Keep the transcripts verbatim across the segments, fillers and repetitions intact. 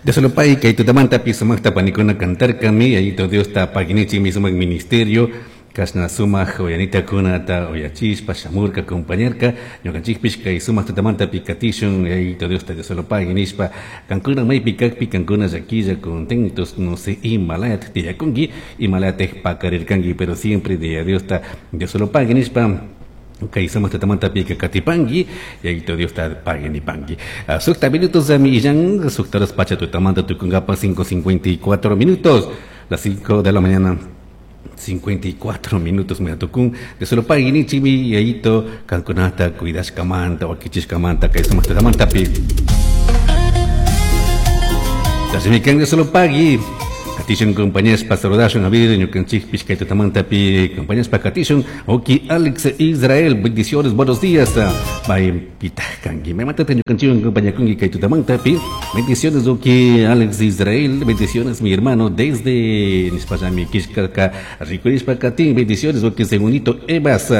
Dios pay kay tutamantapi sumaqta panikuna cantarkami Yayito Diosta paginichikmi sumaq ministerio Kashna sumaq uyanitakuna uyachispa shamurka acompañarka ñukanchikpish kay sumaq tutamantapi katishun Yayito Diosta Dios lo pague nishpa kankuna maypi kakpi kankuna llaquilla contentos no sé imalayat tiyakunki imalayat pakarirkanki pero siempre de Diosta Dios lo pague nishpa kay sumaq tutamantapi katipanki Yayito Diosta pague nipanki. Sukta minutos millan sukta horas pacha tutamanta tukunkapa cinco cincuenta y cuatro minutos, las cinco de la mañana cincuenta y cuatro minutos me tukun de solo pague nichimi Yayito kankunata cuidashkamanta wakichishkamanta kay sumaq tutamantapi. Tasimikan de solo pague Katishun compañías pa saludashun a ver ñukanchikpish kay tutamantapi compañías pa katishun oki Alex Israel bendiciones buenos días bay pitajkanki me matate ñukanchikwan compañía kunki kay tutamantapi bendiciones oki Alex Israel bendiciones mi hermano desde nispallami kishkaka rikurishpa katin bendiciones oki segundito Evas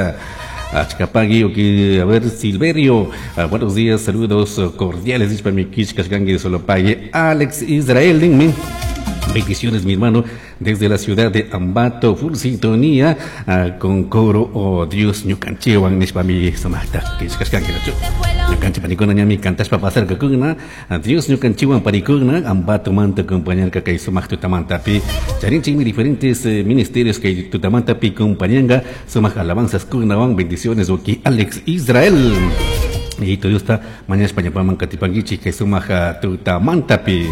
Achcapagui, oki, a ver, Silverio, ah, buenos días, saludos cordiales, dispami kishkashkanki de Solopague, Alex Israel, dinme. Bendiciones, mi hermano, desde la ciudad de Ambato, full sintonía, ah, con coro, oh Dios, ñukanchiwan, nishpami, sumaqta, kishkashkanki, nachu. Ñukanchi panikuna ñami kantashpa pasarkakuna, Dios ñukanchiwan panikuna, Ambato manta acompañarka kay sumaq tutamantapi. Charinchikmi diferentes eh, ministerios kay tutamantapi acompañanga, sumaq alabanzas kunawan, bendiciones, oki Alex Israel. Y todo está mañana España paman katipankichik kay sumaq tutamantapi.